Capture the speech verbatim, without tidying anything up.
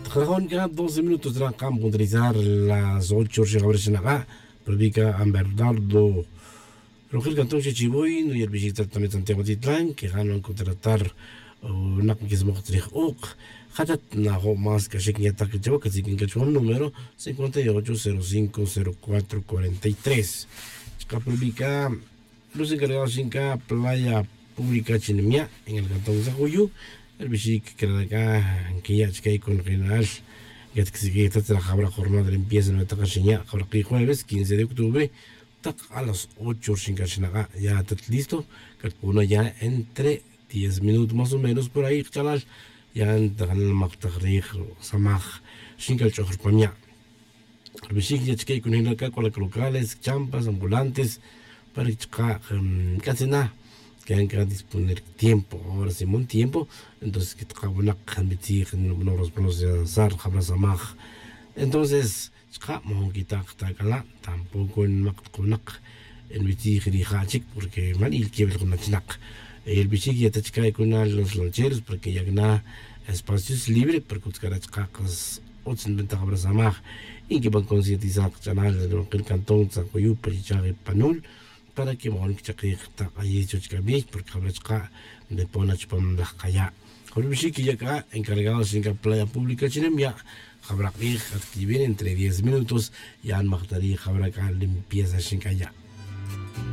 Jajon c'a doce minutos ran cam puntualizar las ocho rixin jabra xinak'a'. Pero vi c'a amberdardo rojel cantón xechivoy no yerbixi' tratamiento santiago titlan que jan van contratar. Nak nkismoj tzrij ok jatat najo' más c'a xic nya'taj c'a chawa c'a sic ncachwan número cincuenta y ocho cero cinco cero cuatro cuarenta y tres. Chaka' pero vi c'a luz encargado xin c'a playa pública chi nimya' en el cantón sajuyu. Rbixi' que crara c'a nquiya' chique con general que tqsiq'ij ta tzra jabra jornada de limpieza nuetak xinya' jabra qi jueves quince de octubre. Tak a las ocho rixin c'a xinak'a' ya tat listo c'a tpona ya entre diez minutos más o menos por ahí kchalal. Ya ntajanal majtaj rij samaj rixin c'a ch'oj rpamya'. Rbixi' ya chique con general c'a c'o la crocales champas ambulantes para que chaka' c'atzina que yan c'a disponer tiempo ahora simón tiempo. Entonces que taka' winak nbitzij noros pronunciar jabra samaj. Entonces chaka' mojon quita' kata' c'ala' tampoco nmak tak winak nbitzij rija' chic porque man ilquew el jun achinak. Rbixi' que ya ta chaka' cuna los lancheros porque ya cana espacios libre porque utz c'ara' chaka' utz nbenta jabra samaj. Y nquiban concientizar kach'anal ronquil cantón tzacuyu pa chichaj panul para que mojon quichakij tak ayiz chuwech c'a bix porque jabra chaka' ndipona chupam laj kaya'. Jabra bixi' que ya c'a encargado xin c'a playa pública chi nimya' jabra k'ij at quivin entre diez minutos ya nmajtarij jabra c'a limpieza xin c'a ya'.